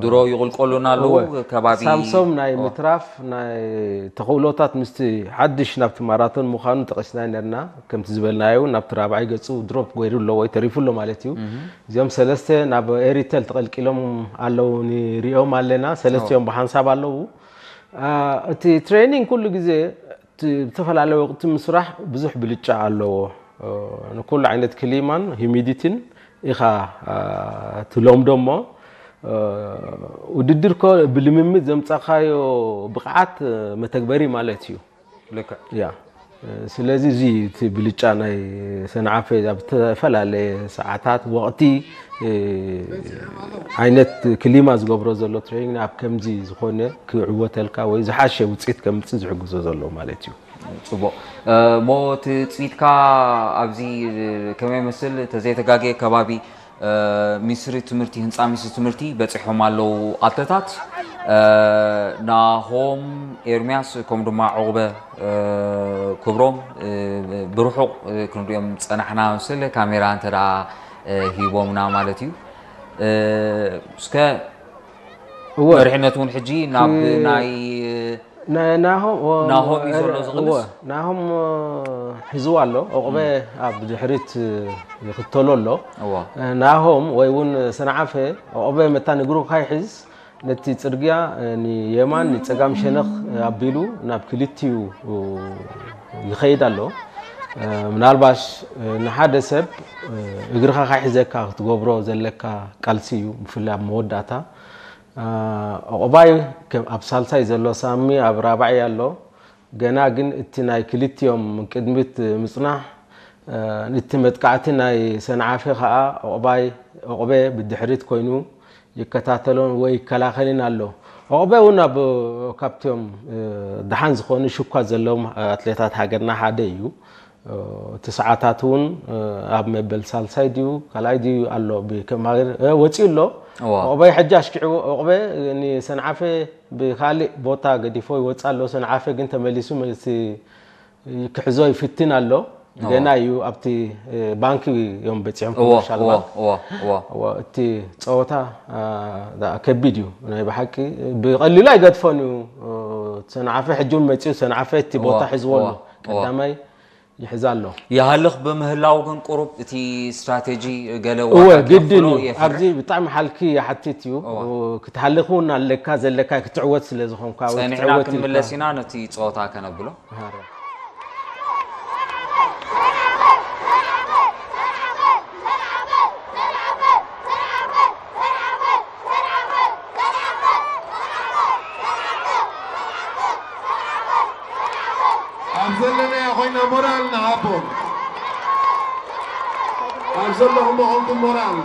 ድሮ ይቕልቀሉና ኣለዉ። እወ። ከባቢ ሳምሶም ናይ እወ። ምትራፍ ናይ ተኽእሎታት ምስቲ ሓድሽ ናብቲ ማራቶን ምዃኑ ጠቒስና ነርና። ከምቲ ዝበልናዮ እውን ናብቲ ራብዓይ ገጹ ድሮፕ ገይሩ ኣሎ ወይ ተሪፉ ኣሎ ማለት እዩ። እዚኦም ሰለስተ ናብ ኤሪተል ተቐልቂሎም ኣለዉ፣ ንሪኦም ኣለና። ሰለስቲኦም ብሓንሳብ ኣለዉ። አ፣ እቲ ትሬኒንግ ኩሉ ግዜ እቲ ብዝተፈላለየ ወቕቲ ምስራሕ ብዙሕ ብልጫ ኣለዎ። እ፣ ንኩሉ ዓይነት ክሊማን ሂሚዲቲን ኢኻ፣ እ፣ ትለምዶ እሞ፣ እ፣ ውድድር ኮ ብልምምድ ዘምጻኻዮ ብቕዓት፣ እ፣ መተግበሪ ማለት እዩ። ልክዕ። ያ። እ፣ ስለዚ እዚ እቲ ብልጫ ናይ ሰንዓፈ ኣብ ዝተፈላለየ ሰዓታት፣ ወቕቲ፣ እ፣ ዓይነት ክሊማ ዝገብሮ ዘሎ ትሬኒንግ ኣብ ከምዚ ዝኾነ ክዕወተልካ ወይ ዝሓሸ ውጽኢት ከምጽእ ዝሕግዞ ዘሎ ማለት እዩ። ጽቡቕ። እ፣ እሞ ትጽቢትካ ኣብዚ ከመይ ይመስል? ተዘይተጋግየ ከባቢ፣ እ፣ ሚኒስትሪ ትምህርቲ፣ ህንጻ ሚኒስትሪ ትምህርቲ በጺሖም ኣለዉ ኣትለታት። እ፣ ናሆም ኤርምያስ ከምኡ ድማ ዑቕበ፣ እ፣ ክብሮም፣ እ፣ ብርሑቕ፣ እ፣ ክንሪኦም ጸናሕና ምስል ካሜራ እንተ ደኣ፣ እ፣ ሂቦምና ማለት እዩ። እ፣ እስከ እወ። መሪሕነት እውን ሕጂ ናብ እ፣ ናይ ና-፣ ናሆም፣ ወ-፣ ናሆም እዩ ዘሎ እወ፣ ዝቕንስ? ናሆም፣ እ፣ ሒዝዋ ኣሎ። ዑቕበ ኣብ ድሕሪት፣ እ፣ ይኽተሎ ኣሎ። እወ። እ፣ ናሆም ወይ እውን ሰንዓፈ ዑቕበ መታን እግሩ ካይሕዝ ነቲ ጽርግያ፣ እ፣ ንየማን ንጸጋም ሸነኽ፣ እ፣ ኣቢሉ ናብ ክልቲኡ፣ እ፣ ይኸይድ ኣሎ። እ፣ ምናልባሽ፣ እ፣ ንሓደ ሰብ፣ እ፣ እግርኻ ካይሕዘካ ክትገብሮ ዘለካ ቃልሲ እዩ፣ ብፍላይ ኣብ መወዳእታ። እ፣ ዑቕባይ ከ-፣ ኣብ ሳልሳይ ዘሎ ሳሚ ኣብ ራብዓይ ኣሎ። ገና ግን እቲ ናይ ክልቲኦም ቅድሚት ምጽናሕ፣ እ፣ እቲ መጥቃዕቲ ናይ ሰንዓፈ ኸኣ ዑቕባይ፣ ዑቕበ ብድሕሪት ኮይኑ ይከታተሎን ወይ ይከላኸልን ኣሎ። ዑቕበ እውን ኣብ፣ ካብቲኦም፣ እ፣ ደሓን ዝኾኑ ሽኳ ዘለዎም ኣትሌታት ሃገርና ሓደ እዩ። እ፣ እቲ ሰዓታት እውን፣ እ፣ ኣብ መበል ሳልሳይ ድዩ ካልኣይ ድዩ ኣሎ፣ ብከም ሃገር፣ እ፣ ወጺኡ ኣሎ። እዋ። ዑቕበ ሕጂ ኣሽኪዕዎ፣ ዑቕበ ንሰንዓፈ ብኻልእ ቦታ ገዲፎ ይወጽእ ኣሎ። ሰንዓፈ ግን ተመሊሱ መልሲ ክሕዞ ይፍትን ኣሎ። እዋ። ገና እዩ፣ ኣብቲ፣ እ፣ ባንኪ እዮም በጺሖም እዋ፣ ኮመርሻል እዋ፣ ባንክ። እዋ፣ እዋ። እዋ፣ እቲ ጸወታ፣ አ፣ ዳ-፣ ከቢድ እዩ። ናይ ብሓቂ ብቐሊሉ ኣይገድፎን እዩ። እ፣ ሰንዓፈ ሕጂ እውን መጺኡ፣ ሰንዓፈ እቲ እዋ፣ ቦታ ሒዝዎ ኣሎ። እዋ፣ እዋ። ቀዳማይ ይሕዝ ኣሎ። ይሃልኽ ብምህላው ግን ቁሩብ እቲ ስትራቴጂ ገለ እወ፣ ዋጋ ግድን ከኽፍሎ እዩ። የፍርሕ። ኣብዚ ብጣዕሚ ሓልኪ ይሓትት እዩ። እወ። ክትሃልኽ እውን ኣለካ፣ ዘለካ ክትዕወት ስለ ዝኾንካ፣ ወይ ጸኒሕና ክትዕወት ኢልካ። ክንምለስ ኢና፣ ነቲ ጸወታ ከነብሎ። ሃረ። ኣብ ዘለናዮ ኮይና ሞራል ንሃቦም። ኣብ ዘለኹም ኾንኩም ሞራል።